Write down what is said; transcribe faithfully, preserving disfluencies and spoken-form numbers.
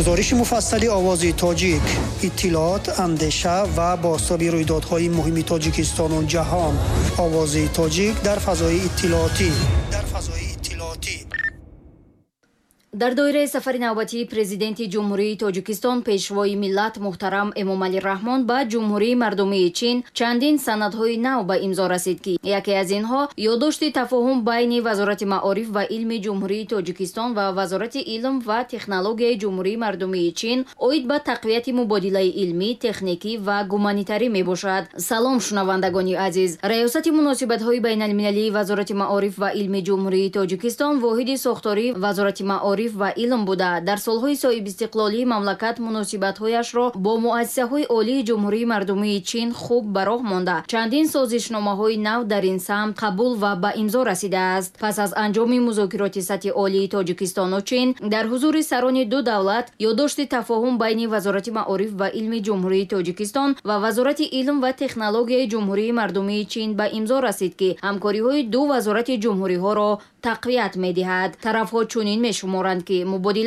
Гузориши муфассали Овози Тоҷик, иттилоот, андеша ва бозтоби рӯйдодҳои муҳими Тоҷикистону ҷаҳон. Овози Тоҷик дар фазои иттилоотӣ. Дар фазои иттилоотӣ. Дар доираи сафари навбатии Президенти Ҷумҳурии Тоҷикистон, Пешвои миллат муҳтарам Эмомалӣ Раҳмон ба Ҷумҳурии Мардумии Чин чандин санадҳои нав ба имзо расид, ки яке аз инҳо ёддошти тафоҳум байни Вазорати маориф ва илми Ҷумҳурии Тоҷикистон ва Вазорати илм ва технологияи Ҷумҳурии Мардумии Чин оид ба тақвияти мубодилаи илмӣ, техникӣ ва гуманитарӣ мебошад. Салом, шунавандагони азиз! Раёсати муносибатҳои байналмилалии Вазорати маориф ва илми Ҷумҳурии Тоҷикистон воҳиди сохтории Вазорати маориф ва илм буда, дар солҳои соҳибистиқлолии мамлакат муносибатҳояшро бо муассисаҳои олии Ҷумҳурии Мардумии Чин хуб ба роҳ монда, чандин созишномаҳои нав дар ин самт қабул ва ба имзо расидааст. Пас аз анҷоми музокироти сатҳи олии Тоҷикистону Чин дар ҳузури сарони ду давлат ёддошти тафоҳум байни Вазорати маориф ва илми Ҷумҳурии Тоҷикистон ва Вазорати илм ва технологияи Ҷумҳурии Мардумии Чин ба имзо расид, ки ҳамкориҳои ду вазорати ҷумҳуриҳоро тақвият медиҳад. Тарафҳо чунин мешуморанд, ки мубодила